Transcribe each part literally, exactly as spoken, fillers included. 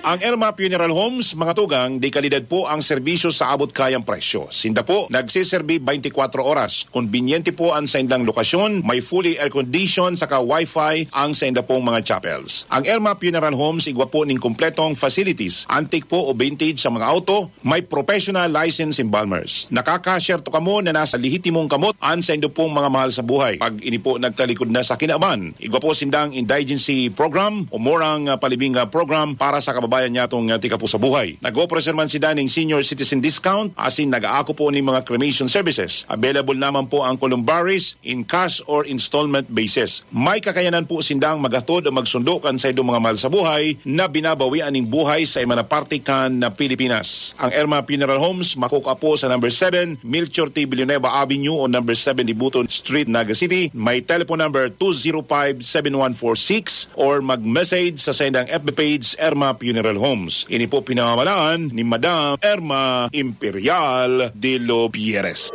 Ang Irma Funeral Homes, mga tugang, de kalidad po ang serbisyo sa abot kayang presyo. Sinda po nagseserbi twenty-four oras. Konbinyente po ang saindang lokasyon, may fully air-conditioned saka wifi ang sainda pong mga chapels. Ang Irma Funeral Homes igwa po ning kompletong facilities, antique po o vintage sa mga auto, may professional license embalmers. Nakaka-share to kamo na nasa lehitimong kamot ang saindo pong mga mahal sa buhay. Pag ini po nagtalikod na sa kinaban, igwa po sindang indigency program o murang, ah, palibing, ah, program para sa kababayan niya tong, ah, tika po sa buhay. Nag-offer man sila ning senior citizen discount, asin nag-aako po ning mga cremation services. Available naman po ang columbaries in cash or installment basis. May kakayanan po sindang maghatod o magsundo kan saindong mga mahal sa buhay na binabawian ning buhay sa iba na parte kan na Pilipinas. Ang Irma Funeral Homes makukua po sa number seven Melchor T. Villanueva Avenue o number seven Dibuton Street, Naga City. May telephone number two zero five seven one four six or mag-message sa saindang F B page, Irma Funeral Homes. Ini po pinamamalaan ni Madam Irma Imperial de los Pierres.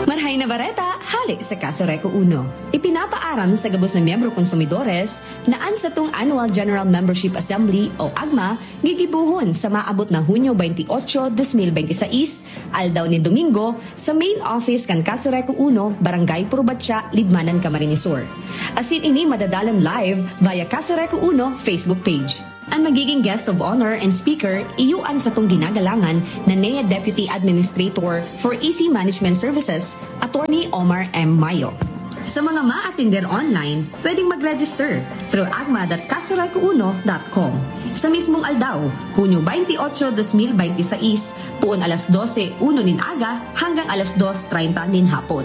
Marhay na bareta, hale sa Casureco Uno. Ipinapaaram sa gabos na miyembro konsumidores na an satong Annual General Membership Assembly o agma gigibohon sa maabot na Hunyo twenty-eight, twenty twenty-six, aldaw nin Domingo, sa main office kan Casureco Uno, Barangay Purbatya, Libmanan, Camarines Sur. Asin ini madadalan live via Casureco Uno Facebook page. Ang magiging guest of honor and speaker, iyo an satong ginagalangan na N E A Deputy Administrator for E C Management Services, Attorney Omar M. Mayo. Sa mga maatender online, pwedeng mag-register through agma dot casureco uno dot com. Sa mismong aldaw, Hunyo twenty-eight, twenty twenty-six, puon alas dose uno nin aga hanggang alas dos treinta nin hapon.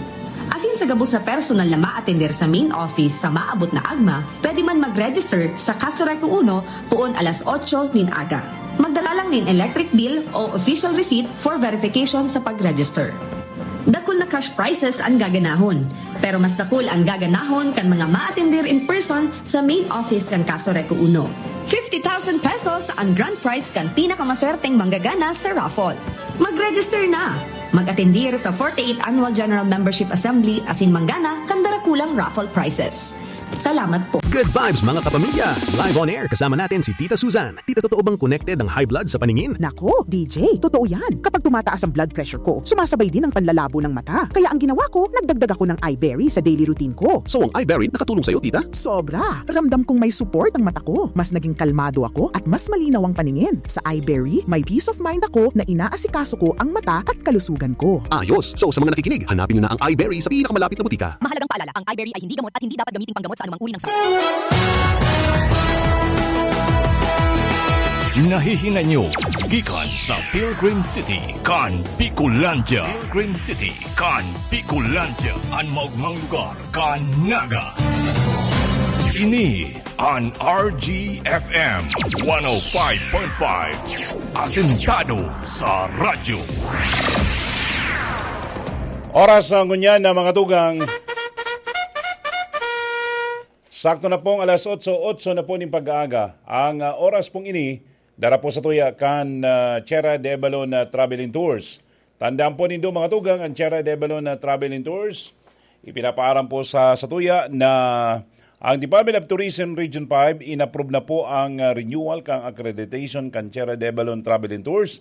Asin sa gabos na personal na maatender sa main office sa maabot na agma, pwede man mag-register sa Casureco Uno puon alas otso nin aga. Magdala lang nin electric bill o official receipt for verification sa pag-register. Dakul na cash prizes ang gaganahon, pero mas dakul ang gaganahon kan mga maatender in person sa main office kan Casureco Uno. Fifty thousand pesos ang grand prize kan pinakamaswerteng manggagana sa raffle. Mag-register na! Mag-atendir sa forty-eighth Annual General Membership Assembly asin manggana kan darakulang raffle prizes. Salamat po. Good vibes, mga kapamilya! Live on air, kasama natin si Tita Susan. Tita, totoo bang connected ang high blood sa paningin? Nako, D J, totoo yan. Kapag tumataas ang blood pressure ko, sumasabay din ang panlalabo ng mata. Kaya ang ginawa ko, nagdagdag ako ng Iberry sa daily routine ko. So, ang Iberry nakatulong sa'yo, Tita? Sobra! Ramdam kong may support ang mata ko. Mas naging kalmado ako at mas malinaw ang paningin. Sa Iberry, may peace of mind ako na inaasikaso ko ang mata at kalusugan ko. Ayos! So, sa mga nakikinig, hanapin nyo na ang Iberry sa pinakamalapit na butika. Mahalagang paalala, ang Iberry ay hindi gamot at hindi dapat gamiting panggamot sa anumang uri ng sakit. Nahihinay nyo gikan sa Pilgrim City, kan Bicolandia. Pilgrim City, kan Bicolandia, an maogmang lugar kan Naga. Ini an R G F M one oh five point five, asentado sa radyo. Oras na ngunyan na, mga tugang. Sakto na pong alas otso, otso na po ning pag-aaga. Ang, ah, oras pong ini, dara po sa tuya kan, ah, Tierra de Avalon, ah, Travel and Tours. Tandaan po nindo, mga tugang, ang Tierra de Avalon, ah, Travel and Tours, ipinapaaram po sa, sa tuya na ang Department of Tourism Region five, inapprove na po ang, ah, renewal kang accreditation kan Tierra de Avalon Travel and Tours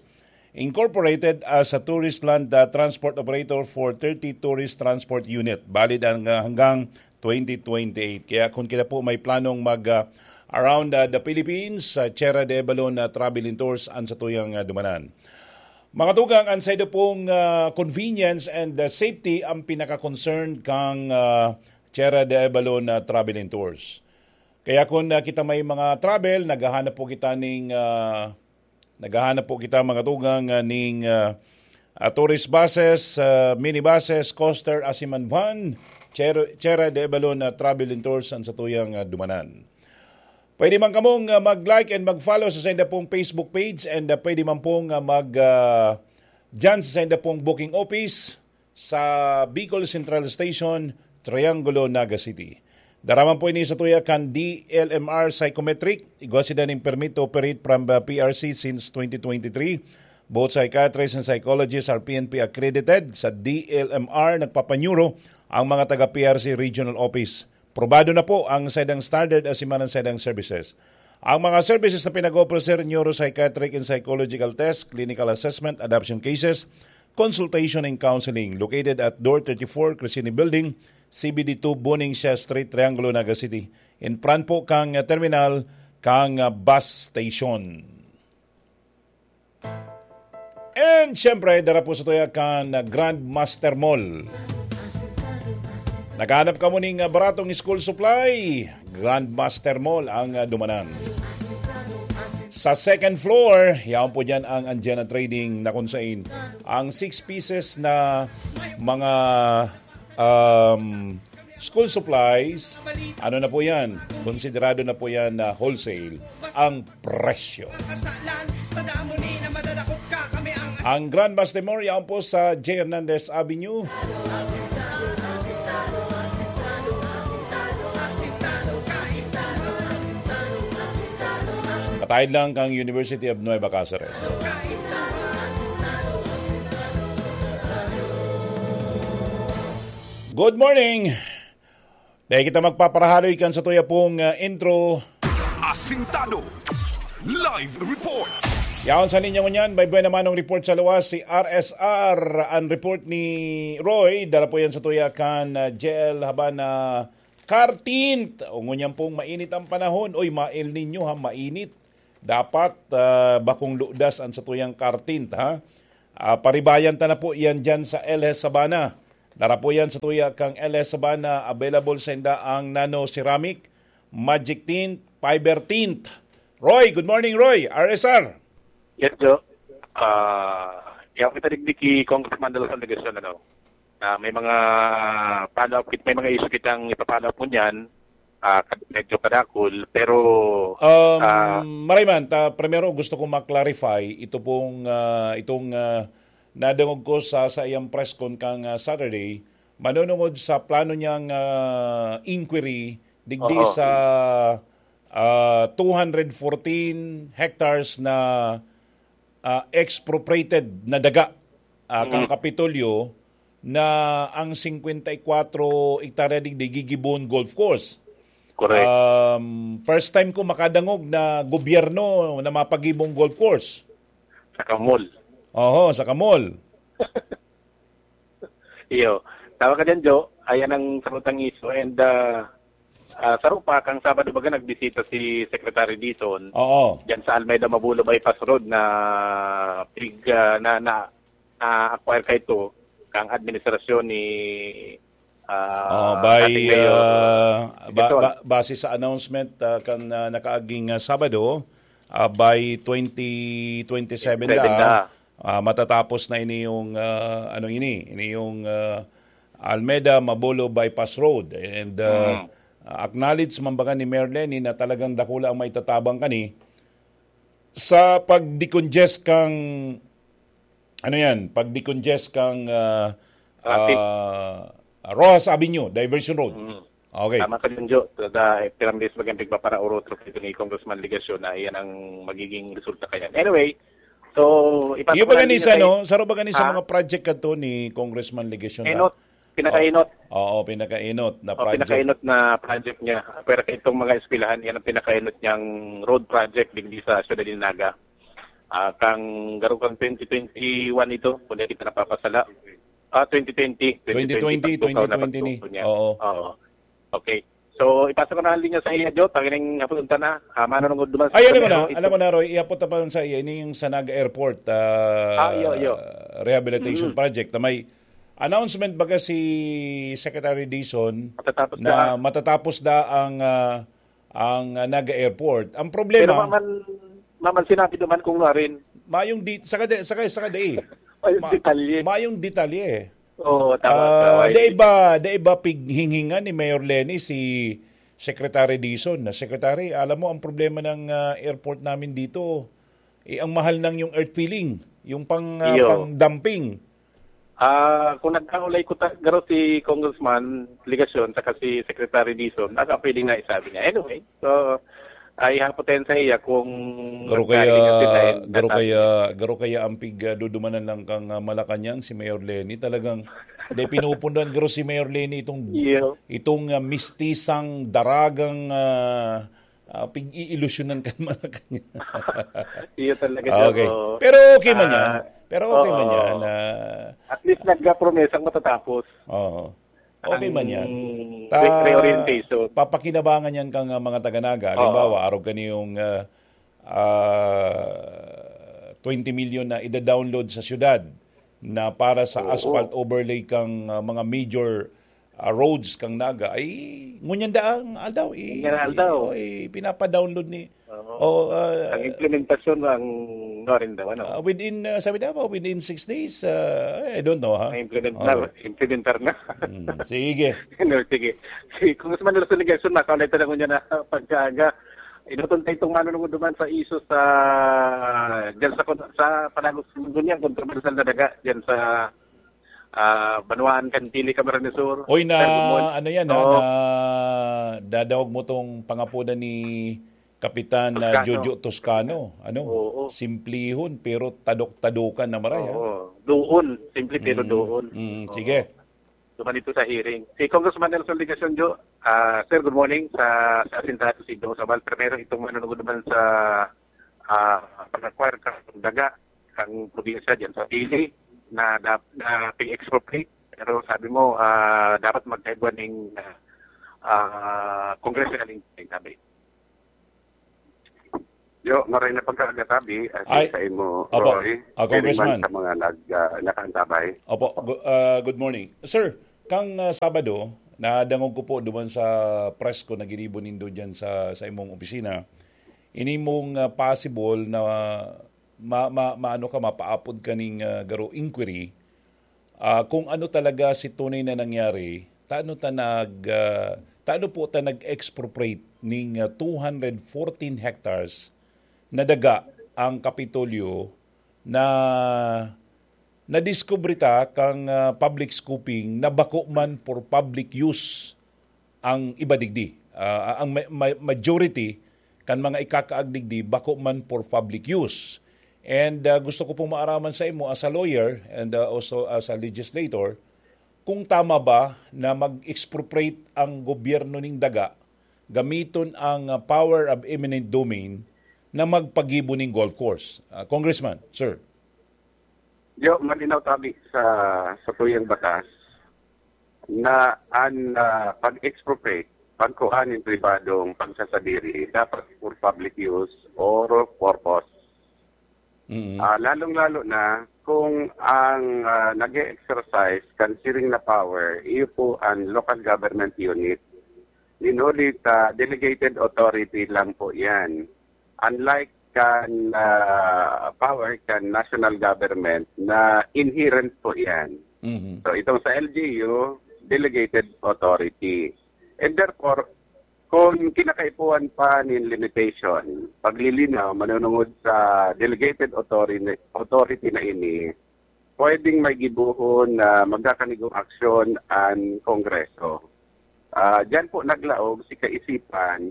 Incorporated as a tourist land, ah, transport operator for thirty tourist transport unit. Valid ang, ah, hanggang twenty twenty-eight. Kaya kung kita po may planong mag, ah, around, ah, the Philippines, sa Tierra de Avalon na Travel and Tours ang sa tuyang, ah, dumanan. Mga tugang, ang saido pong, ah, convenience and, ah, safety ang pinaka-concern kang, ah, Tierra de Avalon na Travel and Tours. Kaya kung, ah, kita may mga travel, naghahanap po kita ning, ah, naghahanap po kita, mga tugang, ah, ning, ah, ah, tourist buses, ah, minibuses, coaster, asin man van, Tierra, Tierra de Avalon na Travel and Tours ang sa tuyang, ah, dumanan. Pwede man kamong, ah, mag-like and mag-follow sa sainda pong Facebook page and, ah, pwede man pong, ah, mag, ah, dyan sa sainda pong booking office sa Bicol Central Station, Triangulo, Naga City. Dara man po ini sa tuya kan D L M R Psychometric. Igwa sinda nin permit to operate from, ah, P R C since twenty twenty-three. Both psychiatrists and psychologists are P N P accredited. Sa D L M R, nagpapanyuro ang mga taga P R C Regional Office. Probado na po ang saidang standard asin man ang saidang services. Ang mga services na pinag-offer, sir, neuropsychiatric and psychological test, clinical assessment, adoption cases, consultation and counseling. Located at Door thirty-four, Crescini Building, C B D two, Buning Siya Street, Triangulo, Naga City. In front po kang, uh, terminal, kang, uh, bus station. And syempre, dara po sa tuya kan, uh, Grandmaster Mall. Naghahanap ka mo ning, uh, baratong school supply? Grandmaster Mall ang, uh, dumanan. Sa second floor, yaon po dyan ang Anjana Trading na kung sain ang six pieces na mga, um, school supplies, ano na po yan? Konsiderado na po yan na wholesale ang presyo. Ang Grand Bas de Moria po sa J. Hernandez Avenue. Patahid lang kang University of Nueva Caceres. Good morning! Dahil kita magpaparahaloy kan sa tuya pong, ah, intro. Asintado. Live report. Yaon sa linya ngunyan, may buena manong report sa luwas, si R S R. Ang report ni Roy, dara po yan sa tuya kan, ah, J L Habana Kartint. O ngunyan pong mainit ang panahon. Oy, ma-El Nino ha, mainit. Dapat, ah, bakong ludas ang sa tuyang Kartint, ha? Ah, paribayan ta na po yan dyan sa L S Sabana. Dara po yan sa tuya kang L S Sabana. Available sa inda ang nano ceramic, magic tint, fiber tint. Roy, good morning, Roy. R S R. Yes, Jo. Ah, yaw kita digdi ki Congressman Dela Legacion, ano, na may mga follow-up kit-, may mga issue kitang ipa-follow up ngunyan, ah, kad-, medyo kadakul, pero, Um, ah, maray man, ta, primero gusto ko ma-clarify ito pong, ah, itong, ah, nadangog ko sa, sa iyang press con kang, ah, Saturday, manunungod sa plano niyang, ah, inquiry digdi Oo. sa, ah, two hundred fourteen hectares na, ah, expropriated na daga, ah, kang Mm. Kapitolyo, na ang singkwenta y kwatro hektarya digdi gigibohon golf course. Correct. Um, first time ko makadangog na gobyerno na mapagibong golf course. Sa Kamol. Oho, sa Kamol. Iyo. Tama ka dyan, Jo. Ayan ang sarutang iso. And, ah, ah, saro pa, kang Sabado baga nagbisita si Secretary Dizon Oo. dyan sa Almeda Mabulo Bypass Road na pig-, ah, na, na, na-acquire kaito kang administrasyon ni, ah, Oh, by, dating Mayor, ah, ba-, Dizon. ba-, base sa announcement, ah, kan, ah, nakaaging, ah, Sabado, ah, by twenty twenty-seven Seven da, da. ah, matatapos na ini yung, ah, ano ini, ini yung, ah, Almeda Mabulo Bypass Road. And, ah, Mm. acknowledge man baga ni Mayor Leni na talagang dakula ang maitatabang kani sa pag-decongest kang, ano yan, pag-decongest kang, ah, Traffic. ah, Roxas Avenue, Diversion Road. Mm. Okay. Tama ka dyan, Jo. Tada, eh, pirang beses bagang pigpaparaurot ito ni Congressman Legacion na iyan ang magiging resulta kaya. Anyway, so, ipapakita Iyo ba gani sa, niya no? Saro ba gani sa Ah? mga project kadto ni Congressman Legacion na? Enot. Pinakaenot. Oo, oo, pinakaenot na Oh, project. pinakaenot na project niya. Pero itong mga eskwelahan, yan ang pinakaenot niyang road project digdi sa Siyudad ni Naga. Ah, kang garo kang twenty twenty-one ito, kung di kita napapasala. Ah, twenty twenty. Twenty twenty, Twenty twenty, pagtukaw na twenty twenty. pagtukaw niya. Oo. Oo. Okay. So, ipasa ko na ang linya sa iya, Jo. Tangining hapon ta na. Ah, manunungod duman sa Ay, alam ko na, primero, ito. alam ko na, Roy. Ihapot na pa sa iya. Ini yung sa Naga Airport, ah, Ah, iyo, iyo. Rehabilitation Mm. Project na may announcement baga si Secretary Dizon Matatapos na na. matatapos na ang, ah, ang, ah, Naga Airport. Ang problema Pero maman, maman sinabi naman kung nga rin. Mayong di-, saka di-, saka, saka di. Mayong Ma-, detalye. mayong detalye. Oo, tama, Ah, tama. dai ba, dai ba pighinghingan ni Mayor Leni si Secretary Dizon na, "Secretary, alam mo, ang problema ng, ah, airport namin dito, eh, ang mahal ng yung earth filling, yung pang, ah, Iyo. pang dumping." Ah, kung nagkaulay ko ta-, garo si Congressman Legacion saka si Secretary Dizon, baka pwede na isabi niya. Anyway, so, ay hapon tayo sa iya kung Garo nagkahingan kaya, sila and garo nasa- kaya, garo kaya ang pig, ah, dudumanan lang kang, ah, Malacañang si Mayor Leni. Talagang, di pinupundan garo si Mayor Leni itong, Iyo. itong, ah, mistisang daragang, ah, Ah, pig-iilusyonan ka naman na kanya. Iyo talaga, sir. Okay. Oo. Pero okay man yan. Ah, Pero okay man oo. yan. Ah, At least nagka-promesang matatapos. Oo. Okay Ang man yan. re- reorientation. Papakinabangan yan kang ah, mga taga-Naga. Oo. Halimbawa, araw kaniyong ah, ah, twenty million na ida-download sa syudad na para sa Oo. asphalt overlay kang ah, mga major ah, roads kang Naga. Ay, ngunyan daang aldaw. I, Ngunyan aldaw. I, pinapa-download ni... Oo. Oh, ah, Ang implementasyon ng Norin daw, ano? ah, within, ah, sabi daw, within six days, ah, I don't know, ha? Ang implement Okay. na, implementar na. Hmm, sige. No, sige. Si Congressman Nelson Legacion, nakaulay talaga niya na pagkaaga. Inuton tayo itong manunungod naman sa iso sa, dyan sa, sa panagos ng dunyang kontrobersyal na daga, dyan sa ah, Banwaan, Cantili, Camarines Sur. Oy, na Sir, good morning. ano yan, ha, Oo. na dadaog mo tong pangapodan ni Kapitan na Toscano. Jojo Toscano. Ano? Oo. Simplihon, pero tadok-tadokan na maray, ha? Oo. Doon. Simple pero Mm, doon. mm, Oo. sige. So, ganito sa hearing. Si Congressman Nelson Legacion, Jo, ah, sir, good morning sa, sa Asintado, si Dong Sabal. Primero, itong manunungod naman sa ah, pag-acquire kang daga, kang probinsya dyan sa Pili, na, na, na pag-expropriate. Pero sabi mo, ah, dapat magkaigwa ng ah, congressional inquiry, sabi. Yo, maray na pagkagatabi, at Ay, sa imo, opo. Roy, Ah, Congressman. Sa mga nag, ah, nakaantabay. Opo, gu- ah, good morning. Sir, kang ah, Sabado, nadangog ko po duman sa press ko na ginibo nindo dyan sa, sa imong opisina. Ini mong ah, possible na ma, ma, maano ka, mapaapod ka ning ah, garo inquiry, ah, kung ano talaga si tunay na nangyari, tano ta nag, ah, tano po ta nag-expropriate ning ah, two hundred fourteen hectares na daga ang Kapitolyo na nadiskubre ta kang ah, public scooping na bako man for public use ang iba digdi. Ah, ang ma- ma- majority kan mga ikakaag digdi bako man for public use. And ah, gusto ko pong maaraman sa imo as a lawyer and ah, also as a legislator, kung tama ba na mag-expropriate ang gobyerno ning daga gamiton ang ah, power of eminent domain na magpagibo ning golf course. Ah, Congressman, sir. Yo, malinaw tabi sa sa tuyang batas na an ah, pag-expropriate, pagkuha nin pribadong pagsasadiri, dapat for public use or purpose. Mm. Ah, lalong-lalo na kung ang ah, nag-e-exercise kan siring na power, iyo po ang local government unit. Inulit, ah, delegated authority lang po yan. Unlike kan ah, power kan national government na inherent po yan. Mhm. So itong sa L G U, delegated authority. And therefore, kung kinakaipuhan pa nin limitation, paglilinaw, manunungod sa delegated authority, authority na ini, pwedeng may gibohon na magkakanigong aksyon ang Kongreso. Ah, diyan po naglaog si kaisipan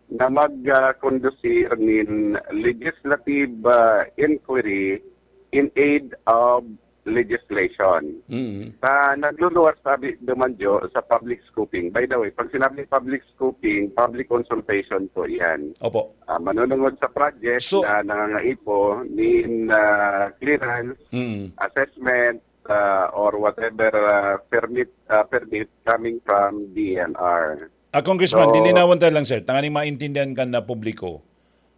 na mag-conducir nin legislative ah, inquiry in aid of legislation. Mm. Sa nagluluwas sabi duman, Jo, sa public scoping. By the way, pag sinabi public scoping, public consultation po yan. Opo. Ah, manunungod sa project So- na nangangaipo nin ah, clearance, Mm. assessment, ah, or whatever ah, permit ah, permit coming from D N R. Ah, Congressman, So- lilinawan tayo lang, sir. Tanganing maintindihan kan na publiko.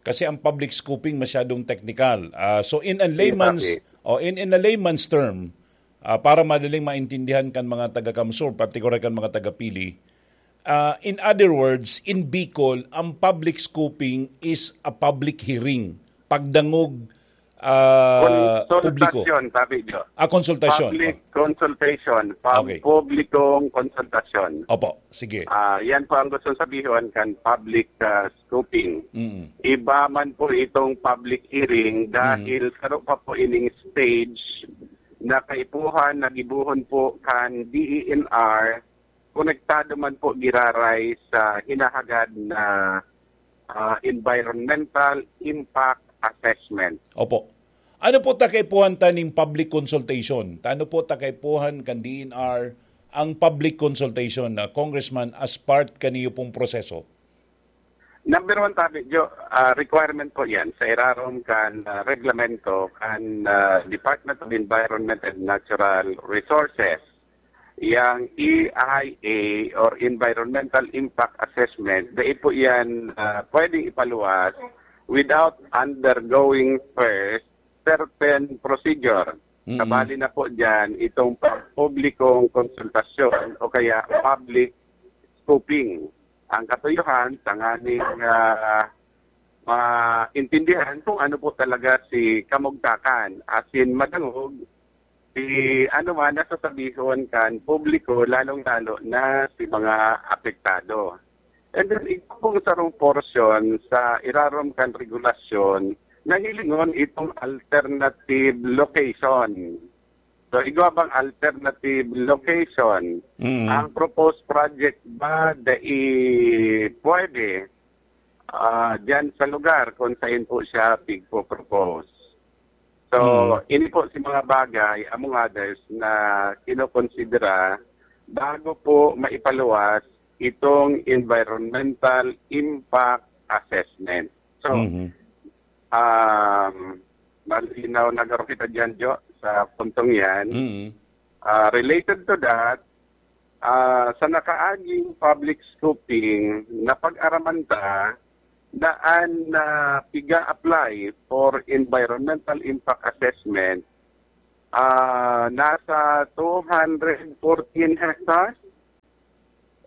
Kasi ang public scoping masyadong technical. Ah, so in a layman's Exactly. oh, in in a layman's term, ah, para madaling maintindihan kan mga taga Kamsur, particular kan mga taga Pili, ah, in other words, in Bicol, ang public scoping is a public hearing. Pagdangog ah, publiko. Consultation, sabi nyo. Ah, consultation. Public consultation. Pub- Okay. Publikong consultation. Opo, sige. Ah, yan po ang gusto sabihon kan public ah, scoping. Mm. Iba man po itong public hearing dahil saro pa po ining stage na kaipuhan na gibuhon po kan D E N R, konektado man po giraray sa hinahagad na ah, environmental impact assessment. Opo. Ano po ta kaipuhan ta ning public consultation? Tano po ta kaipuhan kan D N R ang public consultation na, Congressman, as part kaniyo pong proseso? Number one, tabi, Jo, ah, requirement po yan sa irarom kan, ah, reglamento kan, ah, Department of Environment and Natural Resources. Yang E I A or Environmental Impact Assessment, dai po yan, ah, pwedeng ipaluwas without undergoing first certain procedure. Mm. Kabali na po dyan itong pagpublikong konsultasyon o kaya public scoping. Ang katuyuhan, tanganing, ah, maintindihan kung ano po talaga si kamugtakan. Asin madangog, si ano man nasasabihon kan publiko, lalong-lalo na si mga apektado. And then, igwa pong sarong portion sa irarom kan regulasyon na hilingon itong alternative location. So, igwa bang alternative location? Mm. Ang proposed project ba dai pwede, ah, dyan sa lugar kung saan po siya pigpo-propose? So, Mm. ini po si mga bagay, among others, na kinokonsidera bago po maipaluwas itong environmental impact assessment. So, Mhm. um, malinaw na garo kita dyan, Jo, sa puntong yan. Mhm. Ah, related to that, ah, sa nakaaging public scoping, napag-araman ta na an, ah, piga-apply for environmental impact assessment, ah, nasa two hundred fourteen hectares.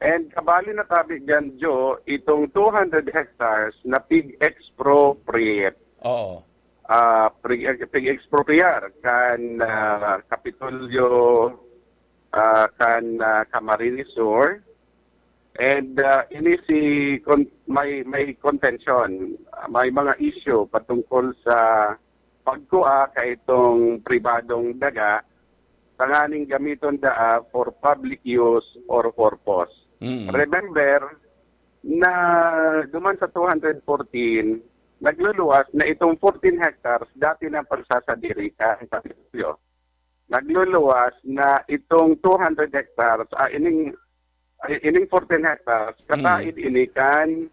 And kabali na tabi dyan, Jo, itong two hundred hectares na pig-expropriate. Oo. Ah, pig-, pig-expropriar kan, ah, Kapitolyo, ah, kan, ah, Camarines Sur. And, ah, ini si con-, may, may contention, ah, may mga issue patungkol sa pagkua kaitong pribadong daga, tanganing gamiton daa for public use or purpose. Mm. Remember na duman sa two hundred fourteen, nagluluwas na itong fourteen hectares, dati nang pagsasadiri kan Kapitolyo. Nagluluwas na itong two hundred hectares, ah, ining, ay, ining fourteen hectares, kataid Mm. ini kan,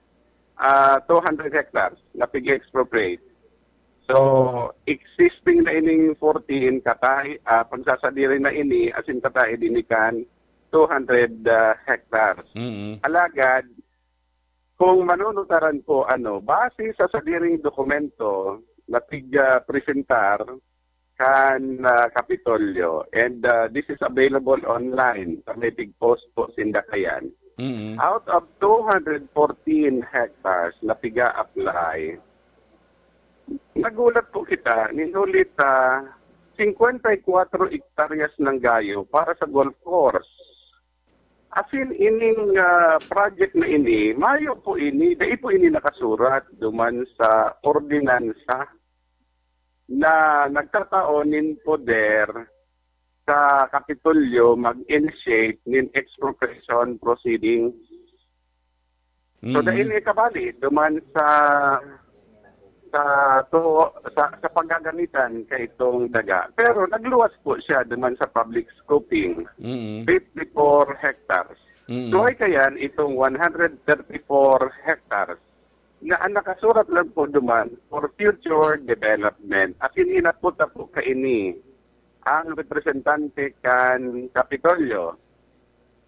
ah, two hundred hectares na pig-expropriate. So, existing na ining fourteen, kataid, ah, pagsasadiri na ini, asin kataid ini kan two hundred, ah, hectares. Mm. Alagad, kung manunutaran ko, ano, base sa sadiring dokumento na pig-, ah, presentar kan, ah, Kapitolyo, and, ah, this is available online sa may pig-post po sinda kayan. Mm. Out of two hundred fourteen hectares na piga-apply, nagulat po kita, nin huli ta, singkwenta y kwatro hektaryas nang gayo para sa golf course. Asin ining, ah, project na ini, mayo po ini, dai po ini nakasurat duman sa ordinansa na nagtatao nin poder sa Kapitolyo mag-initiate nin expropriation proceedings. So, Mm. dai ini kabali duman sa, sa to-, sa, sa paggagamitan kaitong daga. Pero nagluwas po siya duman sa public scoping, Mm. fifty-four hectares. Mm. So, ay kayan itong one hundred thirty-four hectares na ang nakasurat lang po duman for future development. Asin hinapot na po kaini ang representante kan Kapitolyo.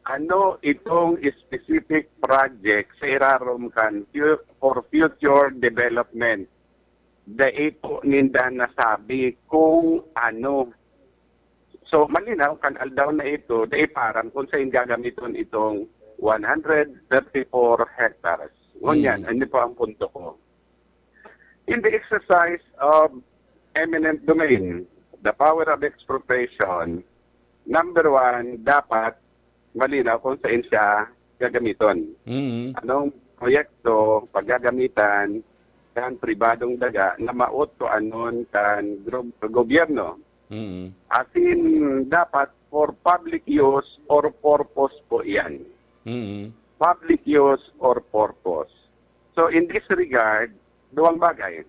Ano itong specific project sa irarom kan fu-, for future development? Dai po ninda nasabi kung ano. So, malinaw, kan aldaw na ito, dai param kung saan gagamiton itong one hundred thirty-four hectares. Ngunyan, Hmm. ano po ang punto ko? In the exercise of eminent domain, the power of expropriation, number one, dapat malinaw kung saan siya gagamiton. Mm. Anong proyekto paggagamitan kan pribadong daga na maot ko anon kan gro-, gobyerno? Mm. Asin dapat for public use or purpose po yan. Mm. Public use or purpose. So, in this regard, duwang bagay.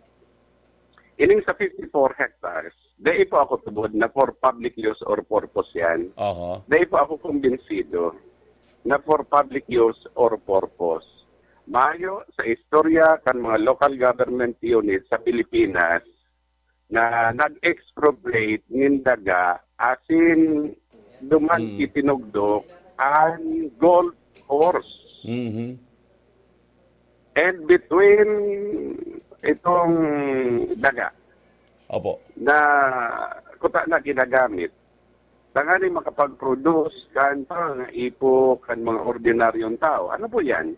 Ining sa fifty-four hectares, dai po ako tubod na for public use or purpose yan. Aha. Dai po ako kumbinsido na for public use or purpose. Mayo sa istorya kan mga local government unit sa Pilipinas na nag-expropriate nin daga asin duman Hmm. itinugdok an golf course. Mhm. And between itong daga Opo. na kuta na ginagamit, tanganing makapag-produce kan pangangaipo kan mga ordinaryong tao. Ano po yan?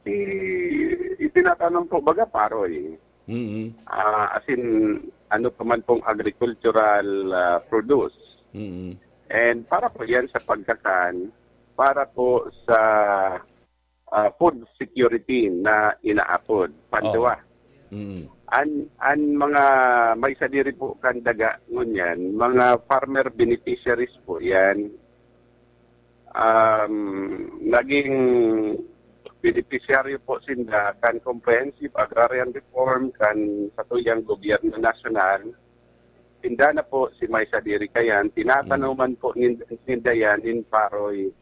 I-, itinatanom po, baga, paroy. Mm. Ah, as in, ano pa man pong agricultural, ah, produce. Mm. And para po yan sa pagkakan, para po sa, ah, food security na inaapod. Panduwa. Oo. Mm. An, an mga may sadiri po kan daga ngunyan, mga farmer beneficiaries po yan. Um, naging beneficiaryo po sinda kan comprehensive agrarian reform kan satuyang gobyerno nasyonal. Sinda na po si may sadiri kayan, tinatanoman po nin-, ninda yan nin paroy,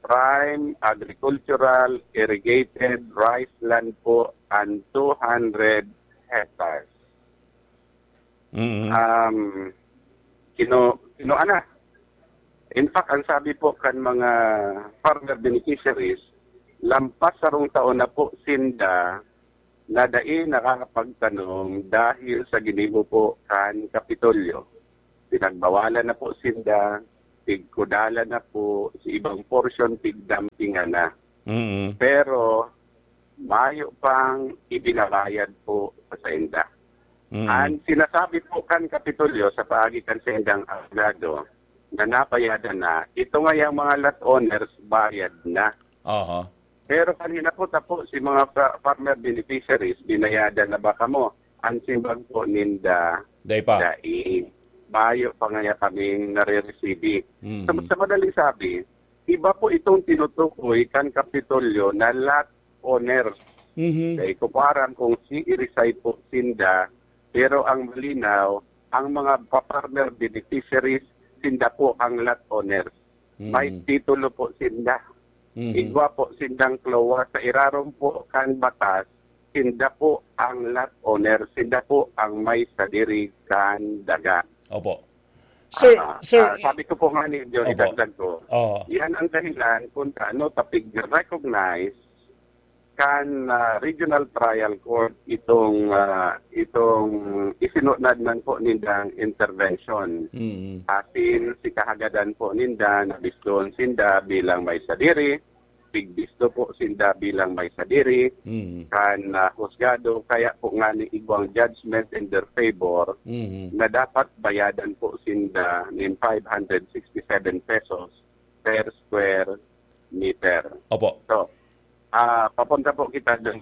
prime agricultural irrigated rice land po an two hundred hectares. Mm. Um, kinu-, kinuha na. In fact, ang sabi po kan mga farmer beneficiaries, lampas sarong taon na po sinda na dai nakakapagtanom dahil sa ginibo po kan Kapitolyo. Pinagbawalan na po sinda, pigkudalan na po, sa ibang portion, pigdampingan na. Mm. Pero, mayo pang ibinabayad po sa sainda. Mm. Ang sinasabi po kan Kapitolyo sa paagi kan saindang abogado na nabayadan na, ito ngayang mga lot owners bayad na. Aha. Pero kan hinapot na po si mga fa-, farmer beneficiaries, binayadan na ba kamo? Ang simbag po ninda, Dai pa. dai. Mayo pa ngaya kaming nare-receive. Mhm. Sa, sa madaling sabi, iba po itong tinutukoy kan Kapitolyo na lot owners. Mhm. Dai ko po aram kung si irisay po sinda, pero ang malinaw, ang mga pa-, farmer beneficiaries, sinda po ang lot owners. May Mm. titulo po sinda. Mhm. Igwa po sindang CLOA. Sa irarom po kan batas, sinda po ang lot owner, sinda po ang may sadiri kan daga. Opo. Sir, Ah, sir, ah, sabi ko po nga ni Johnny, Opo. dagdag ko, Oo. yan ang dahilan kung paano ta pig-recognize kan, ah, Regional Trial Court itong, ah, itong isinunod man po nindang intervention. Mm. Asin si kahagadan po ninda na biston sinda bilang may sadiri, pigbisto po sinda bilang may sadiri, Mm. kan, ah, husgado, kaya po nga ni igwang judgment in their favor Mm. na dapat bayadan po sinda nin five hundred sixty-seven pesos per square meter. Opo. So, ah, papunta po kita dun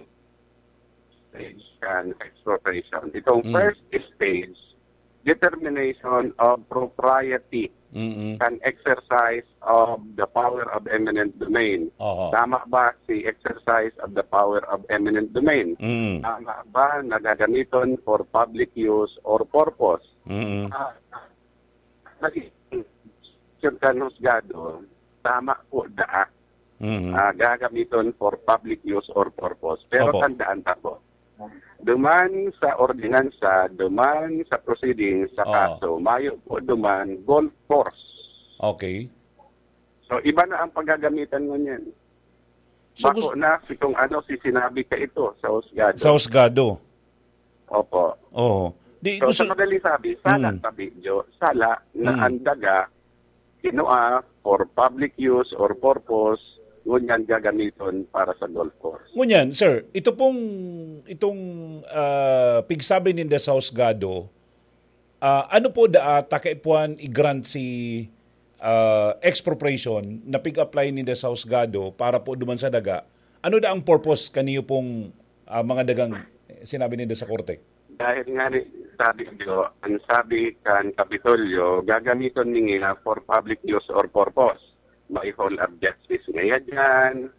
stage kan expropriation. Itong Mm. first stage, determination of propriety Mm-mm. kan exercise of the power of eminent domain. Oho. Tama ba si exercise of the power of eminent domain? Mm. Tama ba na gagamiton for public use or purpose? Mm-mm. Ah, nag-, kan husgado, tama po daa. Mhm. Ah, gagamiton for public use or purpose. Pero Opo. tandaan ta po, duman sa ordinansa, duman sa proceedings, sa Oo. kaso, mayo po duman golf course. Okay. So, iba na ang paggagamitan ngunyan. So, Bako gus- na si kung ano si sinabi ka ito sa husgado. Sa husgado. Opo. Oo. Di, So, gusto sa madaling sabi, sala Mm. tabi, Jo, sala na Mm. ang daga, kinua for public use or purpose, ngunyan gagamiton para sa golf course. Ngunyan, sir, ito pong, itong, ah, pigsabi ninda sa husgado, ah, ano po daa ta kaipuhan i-grant si, ah, expropriation na pig-apply ninda sa husgado para po duman sa daga? Ano da ang purpose kaniyo pong, ah, mga dagang sinabi ninda sa korte? Dahil nga ni, sabi ko, ang sabi kan Kapitolyo, gagamiton ninda for public use or purpose. May hall of justice ngaya dyan,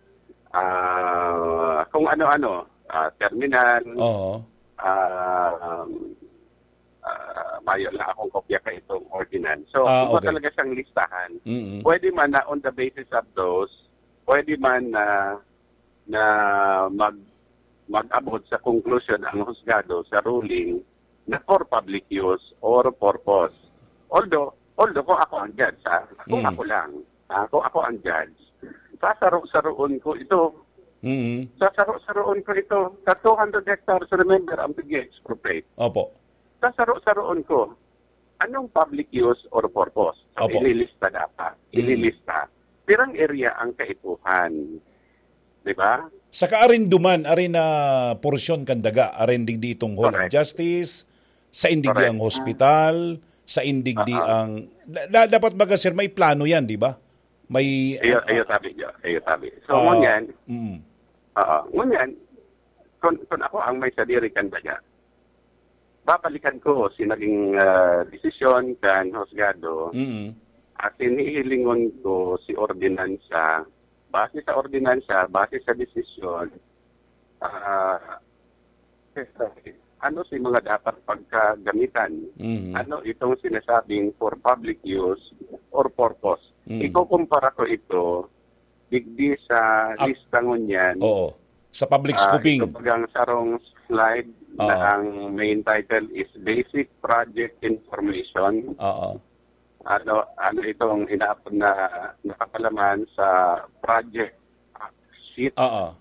ah, kung ano-ano, ah, terminal, Oo. ah, um, ah, mayo lang akong kopya ka itong ordinance. So, Ah, iba okay. talaga siyang listahan. Mm-mm. Pwede man na on the basis of those, pwede man na na mag-, mag-abot sa conclusion ang husgado sa ruling na for public use or purpose. Although, although kung ako ang judge, ha, kung Mm. ako lang, ha, kung ako ang judge, sasaro-saroon ko ito. Mm. Sasaro-saroon ko ito. Sa two hundred hectares, remember, ang pig-expropriate. Opo. Sasaro-saroon ko. Anong public use or purpose? Ang Opo. ililista dapat. Mm. Ililista. Pirang area ang kaipuhan. Di ba? Saka arin duman, arin na porsyon kan daga, arin digdi itong Hall of Correct. Justice, sa indigdi Correct. ang hospital, sa indigdi Ah, ah. ang, da-, da-, dapat baga, sir, may plano yan, di ba? May, Iyo, ah, iyo ah, tabi, iyo, iyo tabi. So, ah, ngunyan, mm. ah, ngunyan, kung, kung ako ang may sadiri kan daga, babalikan ko si naging, ah, desisyon kan husgado Mm. at hinihilingon ko si ordinansa. Base sa ordinansa, base sa desisyon, ah, ano si mga dapat pagkagamitan? Mm. Ano itong sinasabing for public use or purpose? Mm. Ikukumpara ko ito digdi sa Ak- lista ngunyan. Oo. Sa public Ah, scooping. Ito bagang sarong slide na Oo. ang main title is Basic Project Information. Oo. Ano, ano itong inaapod na nakapalaman sa project sheet? Oo.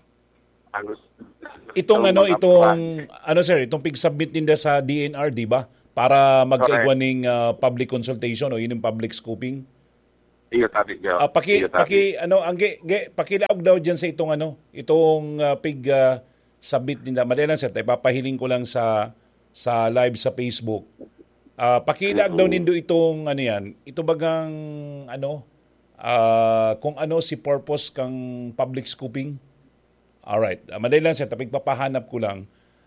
Ang Itong itong ano, mga itong, pro- ano, sir, itong pig-submit ninda sa D N R, di ba? Para magkaigwa Correct. ning, ah, public consultation o yun yung public scooping? Iyo, tabi, Joe. Ah, paki-, Iyo, tabi. paki-, ano, ang ge-, ge-, pakilaog daw dyan sa itong, ano, itong, ah, pig, ah, submit nila. Madali lang, sir. Ipapahiling ko lang sa, sa live sa Facebook. Ah, pakilaog daw Mm. nindo itong, ano yan, ito bagang, ano, ah, kung ano si purpose kang public scooping. Alright. Ah, madali lang, sir. Tapos ipapahanap ko lang.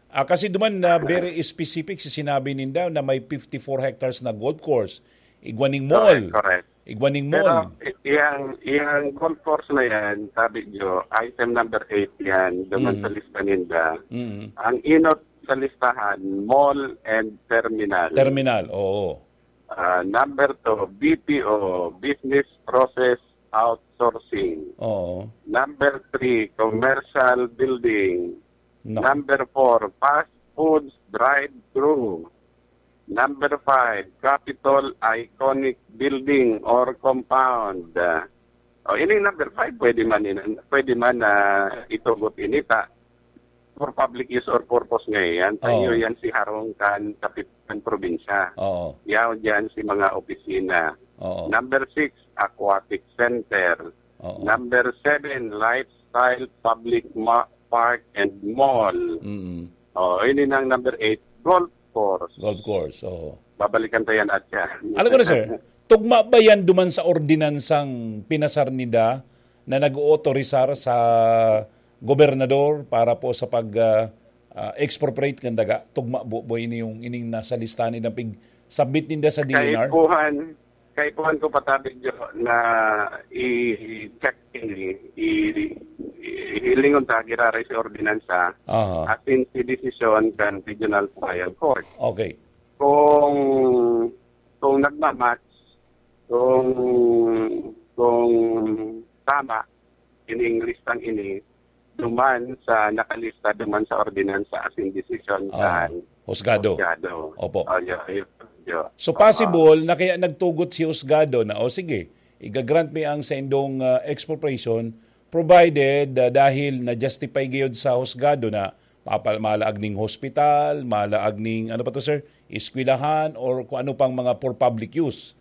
Ah, kasi duman na very specific si sinabi ninda na may fifty-four hectares na golf course. Igwa ning mall. Correct, correct. Igwa ning Pero mall. i-, iyang, iyang golf course na yan, sabi nyo, item number eight yan, duman Mm. sa lista ninda. Mm. Ang inot sa listahan, mall and terminal. Terminal, oo. Ah, number two, B P O, business process outsourcing. Oo. Number three, commercial building. No. Number four, fast foods drive-thru. Number five, Capitol Iconic Building or Compound. O, ini number five, pwede man in-, pwede man na itugot ini ta for public use or purpose ngayon. Oo. Tayo yan si harong kan kapitan probinsya. Oo. Yaw dyan si mga opisina. Oo. Number six, aquatic center. Oo. Number seven, lifestyle public ma-, park and mall. Mm. Oh, ini nang number eight, golf course. Golf course, oo. Babalikan ta yan at yan. Alam ko na, sir. Tugma ba yan duman sa ordinansang pinasar nida na nag-ootorisar sa gobernador para po sa pag, ah, ah, expropriate kan daga? Tugma bo, bo ini yung ining nasa listahan nidang pig-submit ninda sa D N R? Kaipuhan, kaipuhan ko pa tabi, Jo, na i-check ini, i-, i-, hilingon ta, giraray si ordinansa, Aha. asin si desisyon kan Regional Trial Court. Okay. Kung, kung nagmamatch, kung, kung tama, ining listang ini, duman sa nakalista, duman sa ordinansa asin desisyon Oo. kan Husgado. Husgado. Opo. Oh, yo, yo, yo. So, Oo. possible na kaya nagtugot si Husgado na, "O, sige, igagrant mi ang saindong, ah, expropriation, provided, ah, dahil na-justify gayod sa Husgado na papal-, malaag ning hospital, malaag ning, ano pa to, sir? Eskwelahan, or kung ano pang mga for public use."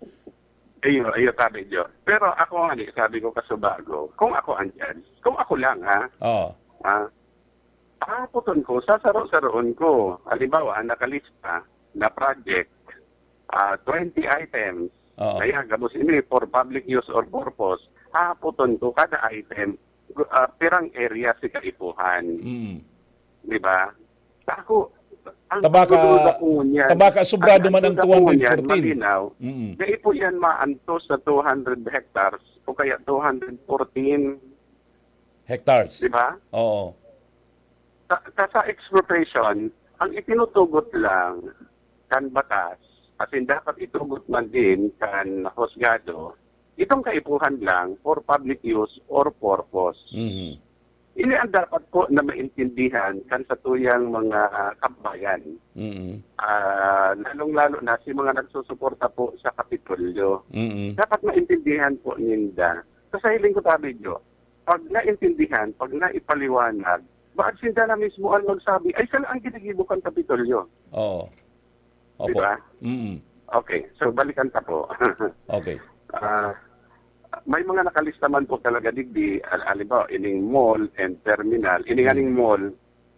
Iyo, iyo, tabi, Jo. Pero ako nga ni, sabi ko kasubago, kung ako ang judge, kung ako lang, ha? Oo. Ha? Aapoton ko, sasaro-saroon ko. Halimbawa, nakalista na project, ah, twenty items. Oo. Kaya gabos ini for public use or purpose. Aapoton ko kada item, ah, pirang area si kaipuhan. Mm. Di ba? Ako, ang Tabaka, pagdududa ko ngunyan, tabaka sobrado ang man ang pagdududa ko ngunyan, two hundred fourteen. malinaw, Mm. dai po yan maantos sa two hundred hectares o kaya two hundred fourteen. Hectares. Di ba? Oo. Sa, sa, sa expropriation, ang itinutugot lang kan batas, as in, dapat itugot man din kan husgado, itong kaipuhan lang for public use or purpose. Mhm. Ini ang dapat po na maintindihan kan satuyang mga kababayan. Mm. Ah, lalong-lalo na si mga nagsusuporta po sa Kapitolyo. Mm. Dapat maintindihan po ninda. Sa hiling ko, Tabidyo, pag naintindihan, pag naipaliwanag, baad sinda na mismo ang magsabi, "Ay, sala ang ginigibo kan Kapitolyo." Oo. Di Opo. ba? Mm. Okay, so balikan ta po. Okay. Ah, may mga nakalista man po talaga digdi, al-, halimbawa, ining mall and terminal, ining Mm. aning mall,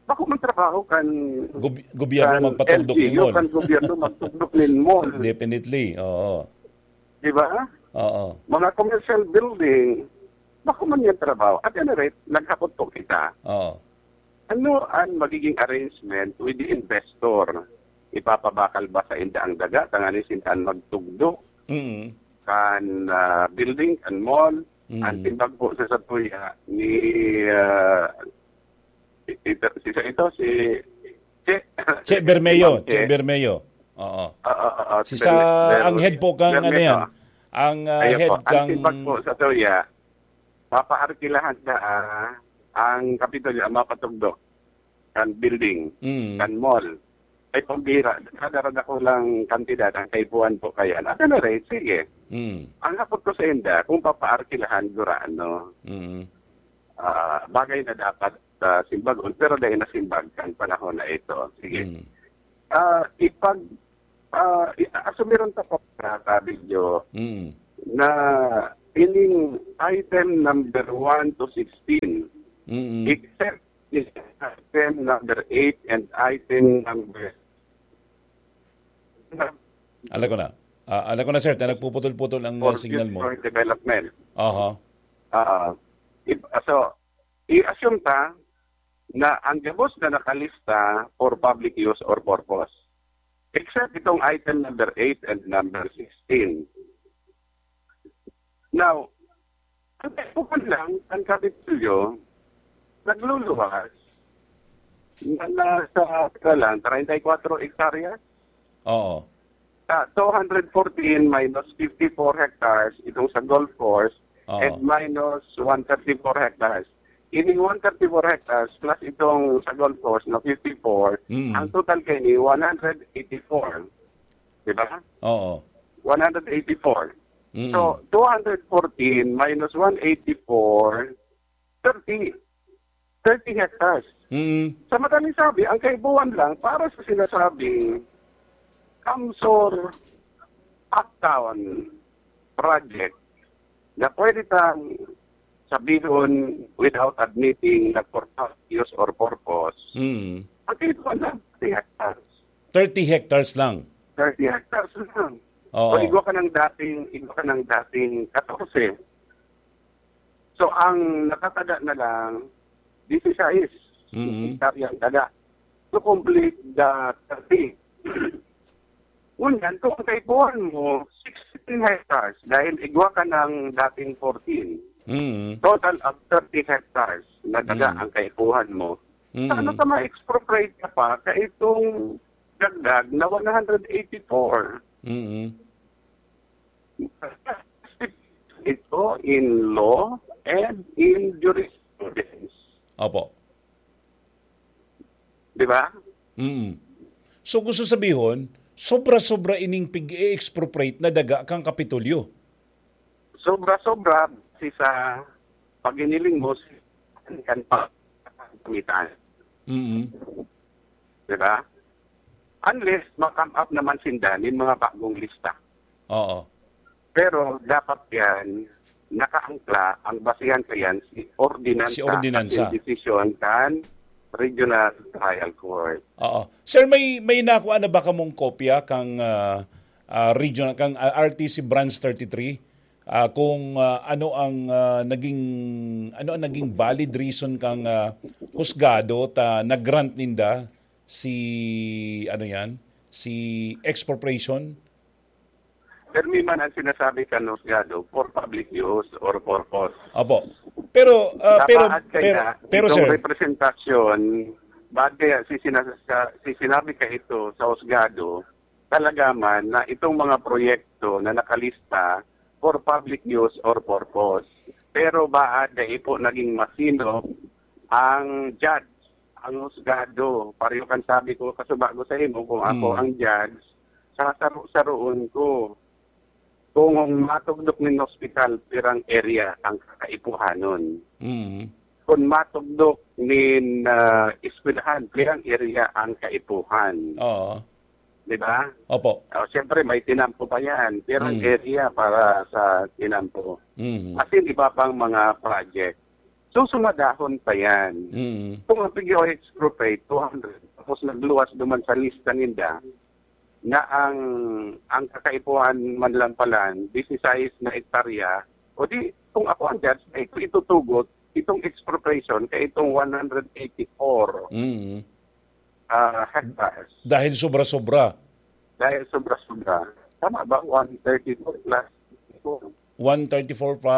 bako man trabaho kan, Gob-, gobyerno kan magpatugdok ning L G U, mall. kan gobyerno magtugdok nin mall. Definitely, oo. Di ba? Oo. Mga commercial building, bako man yan trabaho. At any rate, naghapot po kita. Oo. Ano ang magiging arrangement with the investor? Ipapabakal ba sa inda ang daga tanganing sinda an magtugdok Mm. kan, ah, building, kan mall? Mm. Ang timbag po sa satuya ni, ah, i-, ito, si, sa ito, si Che. Che Bermeo, Si Ma'am Che Che. Bermeo. Oo. Ah, ah, ah, ah, Si Berme-, sa, ang Berme-, head po kang, ano Bermeo. yan? Ang, ah, Ayun head po. Ang kang timbag po sa satuya, papaarkilahan na, ah, ang Kapitolyo, ang mapatugdok kan building, Mm. kan mall. Ay, pambira, kada rada ko lang kantidad, ang kaipuhan po kaya. At ano rin, sige. Mm. Ang hapot ko sa inda, kung papaarkilahan, gurano. Mm. Ah, bagay na dapat, ah, simbagon, pero dahil nasimbag kan panahon na ito. Sige. Mm. Ah, ipag-, ah, i-, asumiran ta po na, Tabidyo, Mm. na ining item number one to sixteen, Mm. except item number eight and item number Alam ko na. Ah, alam ko na, sir, na nagpuputol-putol ang, uh, for signal mo. Future development. Aha. Ah, if, so, i-assume ta na ang gabos na nakalista for public use or purpose. Except itong item number eight and number sixteen. Now, ang kaipuhan lang, ang Kapitolyo, nagluluwas na nasa, teka lang, treinta y cuatro hectares? Oo. Ah, two hundred fourteen minus fifty-four hectares itong sa golf course Oo. and minus one thirty-four hectares. Ining one thirty-four hectares plus itong sa golf course na fifty-four, Mm. ang total kaini one hundred eighty-four. Di ba? Oo. One hundred eighty-four. Mm. So, two hundred fourteen minus one eighty-four, thirty. Thirty hectares. Mm. Sa madaling sabi, ang kaipuhan lang para sa sinasabing CamSur Uptown project na pwede tang sabihon without admitting na for public use or purpose, Mm. ang kaipuhan lang, thirty hectares. Thirty hectares lang? Thirty hectares lang. Oo. O igwa ka ng dating, igwa ka ng dating katorse. So, ang nakataga na lang, disisais Mm. hektarya ang taga. To complete the thirty. Ngunyan, kung ang kaipuhan mo, sixteen hectares, dahil igwa ka ng dating fourteen, Mm. total of thirty hectares na daga Mm. ang kaipuhan mo. Mm. Paano ka ma-expropriate ka pa ka itong dagdag na one hundred eighty-four? Mm. Ito in law and in jurisprudence. Opo. Di ba? Mm. So, gusto sabihon, sobra-sobra ining pig-i-expropriate na daga kang Kapitolyo. Sobra-sobra si sa paginiling mo si kan pa-, kamitan. Mm. Di ba? Unless ma-come up naman sinda nin mga bagong lista. Oo. Pero dapat yan, nakaangkla, ang basihan kayan, si ordinansa, Si ordinansa. at yung desisyon kan Regional Trial Court. Oo. Sir, may, may nakuha na ba kamong kopya kang, ah, ah, regional, kang, ah, R T C Branch thirty-three? Ah, kung, ah, ano ang, ah, naging, ano ang naging valid reason kang, ah, husgado ta nag-grant ninda si, ano yan, si expropriation? Permi man ang sinasabi kan husgado for public use or purpose. Opo. Pero, ah, pero, Napaat kaya pero, pero, itong sir. representasyon, baad kaya si sina-, sa, si sinabi ka ito sa husgado, talaga man na itong mga proyekto na nakalista for public use or purpose. Pero baad dai po naging masinop Ang judge, ang husgado, pareho kan sabi ko kasubago sa imo, kung ako Mm. ang judge, sasaro-saroon ko. Kung matugdok nin hospital, pirang area ang kakaipuhanon. Mm. Kung matugdok nin, ah, eskwelahan, pirang area ang kaipuhan. Oo. Di ba? Opo. Oh, siyempre, may tinampo pa yan. Pirang Mm. area para sa tinampo. Mm. As in, iba pang mga project. So, sumadahon pa yan. Mm. Kung ang P G O expropriate, two hundred, tapos nagluwas duman sa lista ninda, na ang, ang kakaipuhan man lang palan, disisais na hektarya, o di, kung ako ang judge, na ito itutugot, itong expropriation, kay itong one hundred eighty-four, Mm. ah, hectares. Dahil sobra-sobra. Dahil sobra-sobra. Tama ba? One thirty-four plus. One thirty-four pa,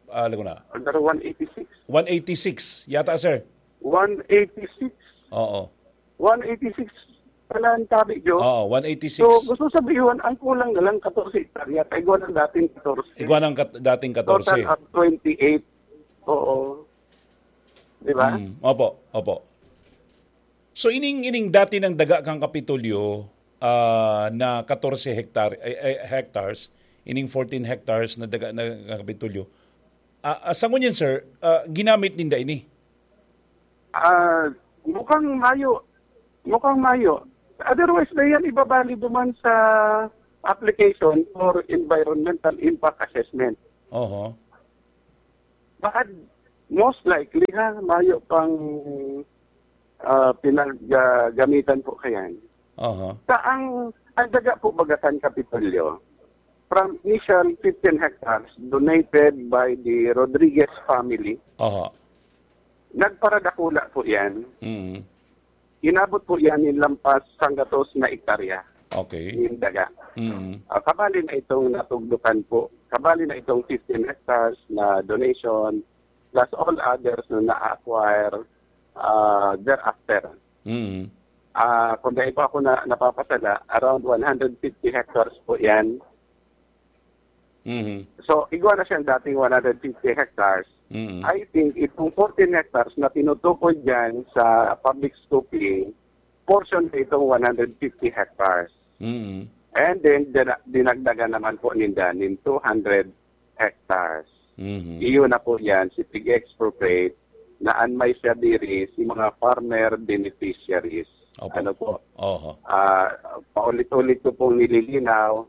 ah, lago na. Under one eighty-six. One eighty-six yata, sir. One eighty-six. Oo. One eighty-six pala ang tabi, Jo. Oo, one eighty-six. So, gusto sabihin, ang kulang na lang katorse hektarya. Kaya igwa ng dating katorse. Igwa ng kat-, dating katorse. Total of twenty-eight. Oo. Di ba? Mm, opo, opo. So, ining, ining dati nang daga kan Kapitolyo, ah, na katorse hektar-, eh, eh, hectares, ining fourteen hectares na daga na kan Kapitolyo, ah, ah, sa ngunyan, sir, ah, ginamit ninda ini? Ah, mukhang mayo. Mukhang mayo. Otherwise, na yan ibabali duman sa application for environmental impact assessment. Oho. But most likely, ha, mayo pang, ah, pinag-, ah, gamitan po kayan. Oho. Sa ang, ang daga po baga kan Kapitolyo, from initial fifteen hectares donated by the Rodriguez family, Oho. nagparadakula po yan. Mm. Inabot po yan in lampas sanggatos na hektarya Okay. in daga. Mm. Ah, kabali na itong natugdukan po, kabali na itong fifteen hectares na donation, plus all others na na-acquire, ah, thereafter. Mm. Ah, kung dahil pa ako na, napapasala, around one hundred fifty hectares po yan. Mhm. So, igwa na siyang dating one hundred fifty hectares. Mhm. I think itong fourteen hectares na tinutukoy dyan sa public scooping, portion na itong one hundred fifty hectares. Mhm. And then, dina-, dinagdagan naman po ninda nin two hundred hectares. Mhm. Iyon na po yan, si pig-expropriate na an may sadiri, si mga farmer beneficiaries. Opo. Ano po? Oho. Ah, paulit-ulit ko pong nililinaw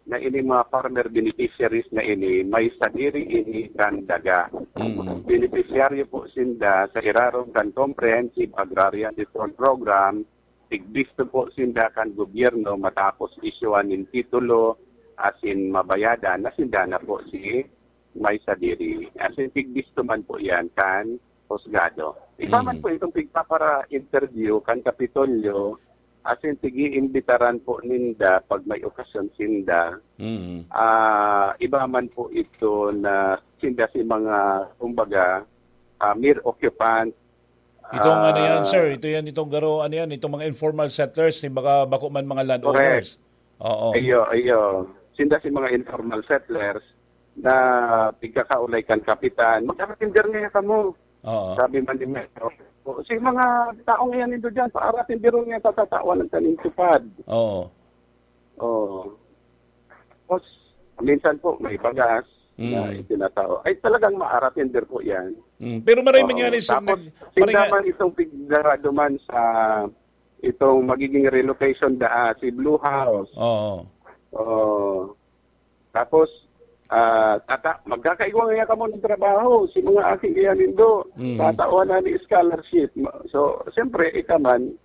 na ini mga farmer beneficiaries na ini, may sadiri ini kan daga. Mm. Benepisyaryo po sinda sa irarom kan Comprehensive Agrarian Reform Program, tigbisto po sinda kan gobyerno matapos isyuan nin titulo asin mabayadan na sinda na po si may sadiri. Asin tigbisto man po yan kan husgado. Iba man Mm. po itong pigpapara-interview kan Kapitolyo, asin pig-iimbitaran po ninda pag may okasyon sinda. Mm. Ah, iba man po ito na sinda si mga, kumbaga, ah, mere occupant. Itong ano yan, Ah, sir? Ito yan, itong garo, ano yan? Itong mga informal settlers, si baka bako man mga landowners. Correct. Oo. Iyo, iyo. Sinda si mga informal settlers na pigkakaulay kan kapitan, "Mag-aratinder niya kamo." Oo. Sabi man ni Mayor, "O, si mga taong iyan nindo dyan, paaratinderon niya sa tatawan ng taning tupad." Oo. Oo. Tapos, minsan po, may bagas na Mm. itinatao. Ay, talagang maaratinder po yan. Mm. Pero maray Oo. mangyari, sir, Tapos, nag-, sinda maray nga man itong pigdarado man sa itong magiging relocation da, ah, si Blue House. Oo. Oo. Tapos, ah, tata-, magkakaigwa nga kamo ng trabaho, si mga aki iyan nindo, Mm. tatawan na ni scholarship. Ma-, so, siyempre, ika man,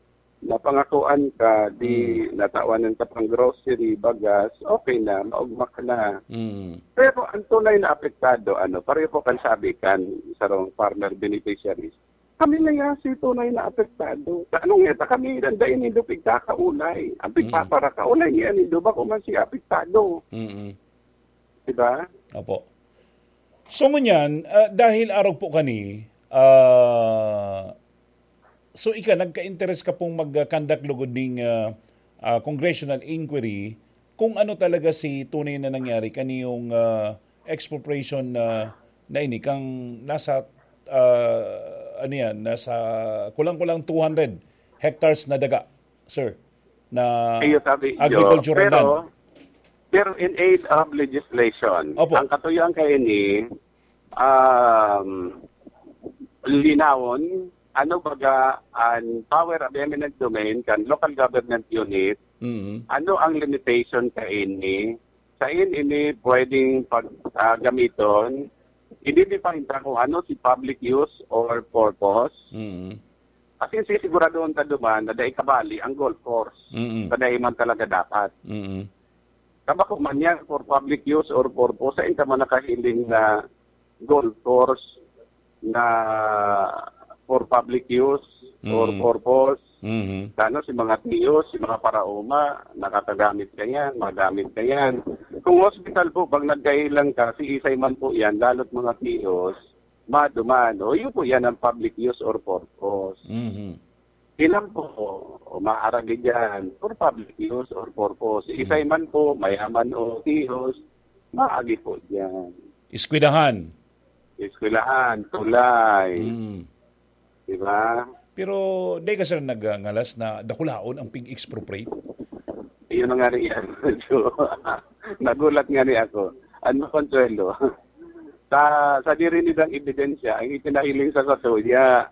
napangakuan ka, di Mm. natawan ng tapang grocery, bagas, okay na, maugma ka na. Mm. Pero ang tunay na apektado, ano, pareho po kan sabi kan sarong farmer beneficiaries, kami na yan si tunay na apektado. Sa anong ngeta, kami rin dahil nindo pigkakaulay. Ang Mm. pigpaparakaulay niya nindo, bako man siya apektado. Mm. Diba? Opo. So, ngunyan, ah, dahil arog po kani, ah, so, ika, nagka-interes ka pong mag-conduct lugod ning, ah, ah, congressional inquiry kung ano talaga si tunay na nangyari kaniyong, ah, expropriation na, na ini kang nasa, ah, ano yan, nasa kulang-kulang two hundred hectares na daga, sir, na Iyo sabi, agricultural pero, land. Pero in aid of legislation, Opo. Ang katuyuan kaini, um, linawon, ano baga ang power of eminent domain kan local government unit, Mhm. Ano ang limitation kaini? Sain ini pwedeng pag, ah, gamiton? I-define ta kung ano si public use or purpose. Mhm. Asin sisiguradohon ta duman na dai kabali ang golf course. Mhm. Sa dai man talaga dapat. Mhm. Kabako man yan for public use or purpose, sain ka man nakahiling na golf course na for public use or Mm. purpose. Mhm. Ano, si mga tiyos, si mga paraoma, nakakagamit ka yan, magamit ka yan. Kung hospital po, pag nagkailang ka, si isay man po yan, lalo't mga tiyos, maduman. O, yun po yan ang public use or purpose. Mhm. Ilan po, o, maaragi dyan, for public use or purpose. Si isay man po, mayaman o tiyos, maagi po dyan. Eskwelahan. Eskwelahan, tulay. Mm. Di ba? Pero di ka, sir, nagngalas na dakulaon ang pig-expropriate? Iyon na nga rin yan. So, nagulat nga rin ako. Ano, Consuelo? Sa, sa diri nidang ebidensya, ang ipinahiling sa katuya.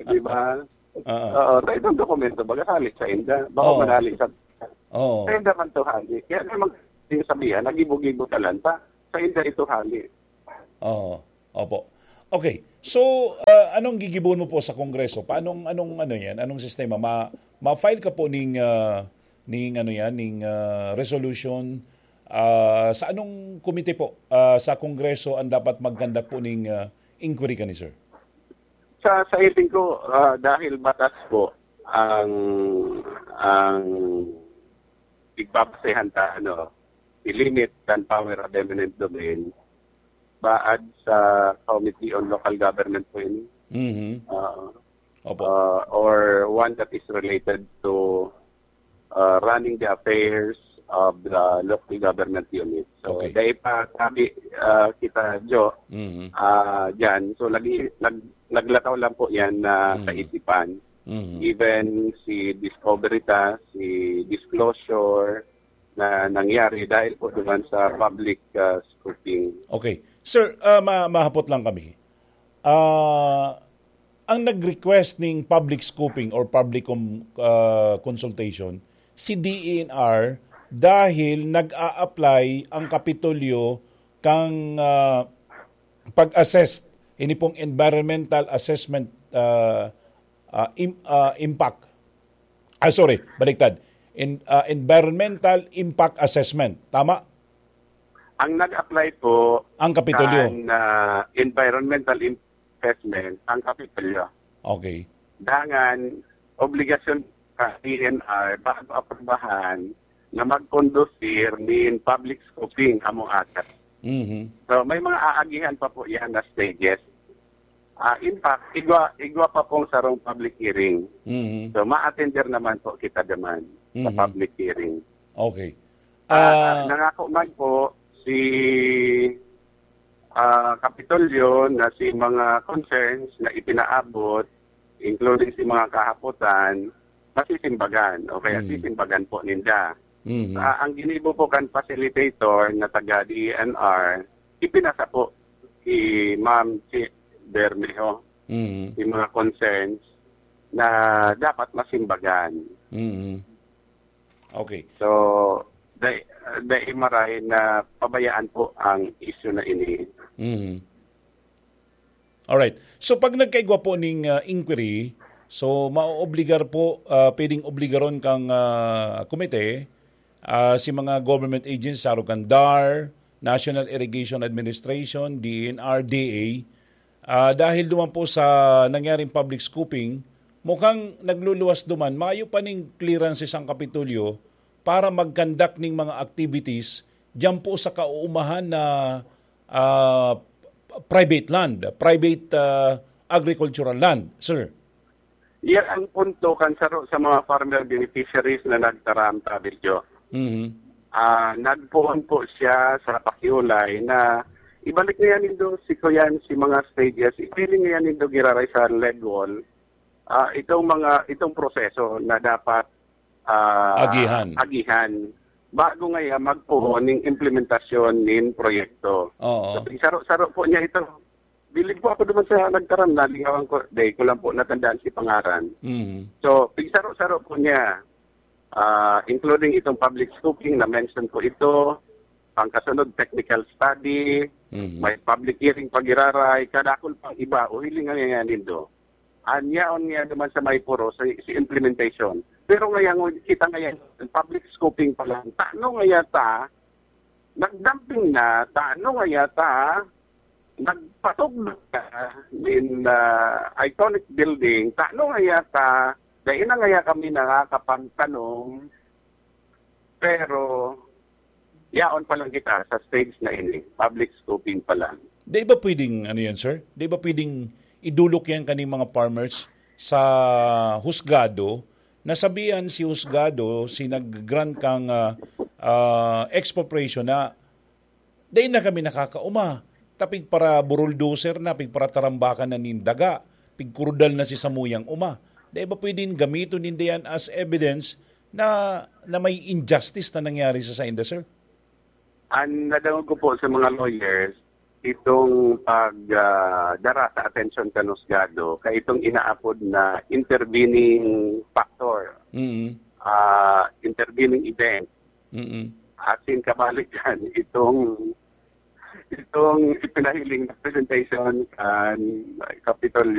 Di ba? Oo. Oo, sa itong dokumento, baga hali sa inda. Baka Oo. manali sa, Oo. sa inda man to hali. Kaya naman yung sabihan, nagibo-gibo talan pa. Sa inda ito hali. Oo. Opo. Okay. So, ah, anong gigibon mo po sa Kongreso? Paanong, anong, ano yan? Anong sistema? Ma, ma-file ka po ning, ah, ning, ano yan, ning, ah, resolution? Ah, sa anong komite po, ah, sa Kongreso ang dapat mag-conduct po ning, ah, inquiry kani, sir? Sa, sa hiling ko, ah, dahil batas po ang, ang igbabasehan ta, ano, i-limit kan power of eminent domain, baad sa Committee on Local Government po yun. Mhm. Ah, Opo. ah, or one that is related to ah, running the affairs of the local government unit. So, Okay. Dahil pa sabi ah, kita, Jo, Mhm. ah, dyan. So, nag, nag, naglataw lang po yan na Mhm. kaisipan. Mhm. Even si discovery ta, si disclosure na nangyari dahil po naman sa public ah, scrutiny. Okay. Sir, ah, ma- mahapot lang kami. Ah, ang nag-request ning public scoping or public com- ah, consultation, si D E N R, dahil nag-a-apply ang Kapitolyo kang ah, pag-assess, ini pong environmental assessment ah, ah, im- ah, impact. Ah, sorry, baliktad. In, ah, environmental impact assessment. Tama? Ang nag-apply po Ang Kapitolyo. kan ah, environmental assessment, ang Kapitolyo. Okay. Dangan, obligasyon ka D N R bago aprubahan na magkondusir nin public scoping among akat. Mhm. So, may mga aagihan pa po yan na stages. Ah, in fact, igwa, igwa pa pong sarong public hearing. Mhm. So, ma-attender naman po kita naman sa Mhm. public hearing. Okay. Ah, Ah, nangako man po si ah, Kapitolyo na si mga concerns na ipinaabot, including si mga kahapotan, masisimbagan o kaya Mm. sisimbagan po ninda. mhm. Ah, ang ginibo po kan facilitator na taga D E N R, ipinasa po si Ma'am Chi Bermejo, Mhm. si mga concerns na dapat masimbagan. Mhm. Okay. So, dai, dai maray na pabayaan po ang issue na ini. Mhm. Alright. So pag nagkaigwa po ning ah, inquiry, so maoobligar po, ah, pwedeng obligaron kang ah, komite, ah, si mga government agencies, saro kan DAR, National Irrigation Administration, D E N R, D A, ah, dahil duman po sa nangyaring public scoping, mukhang nagluluwas duman, mayo pa ning clearances ang Kapitolyo para mag-conduct ning mga activities diyan po sa kauumahan na ah, private land, private ah, agricultural land, sir. Yan ang punto kan saro sa mga farmer beneficiaries na nagtaram, Tabidyo. Mhm. Ah, nagpoon po siya sa pakiulay na Ibalik ngayon nindo si kuyan si mga stages, ipiling ngayon nindo giraray sa lead wall, ah, itong mga, itong proseso na dapat, ah, Agihan. agihan bago ngayon magpuho ning implementasyon nin proyekto. Oo. So, saro-saro po niya ito. Bilib po ako naman sa nagtaram, nalingawan ko, day ko lang po natandaan si pangaran. Mhm. So, pigsaro-saro po niya, ah, including itong public scoping na mention po ito, pangkasunod technical study, Mhm. may public hearing pag-iraray, kadakol pang iba, o hiling nga nga nindo. Anyaon nga naman sa may puro sa, sa implementation. Pero ngayon, kita ngayon, public scoping pa lang. Tano nga yata, nagdamping na, tano nga yata, nagpatugdok na nin, ah, iconic building, tano nga yata, dahil na nga kami nakakapagtanong, pero yaon pa lang kita sa stage na ini, public scoping pa lang. Di ba pwedeng, ano yan, sir? Di ba pwedeng idulok yan kaning mga farmers sa husgado? Nasabihan si husgado, si nag-grant kang, ah, ah, expropriation na, dai na kami nakakauma. Ta pigpara-bulldozer na, pigparatarambakan na nin daga, pigkurudal na si samuyang uma. Dai ba pwedeng gamiton ninda yan as evidence na, na may injustice na nangyari sa sainda, sir? Ang nadangog ko po sa mga lawyers, itong pag, ah, dara sa atensyon kan husgado, kay itong inaapod na intervening factor, Mm. ah, intervening event. Mm. Asin kabalik yan, itong, itong ipinahiling na presentation kan Kapitolyo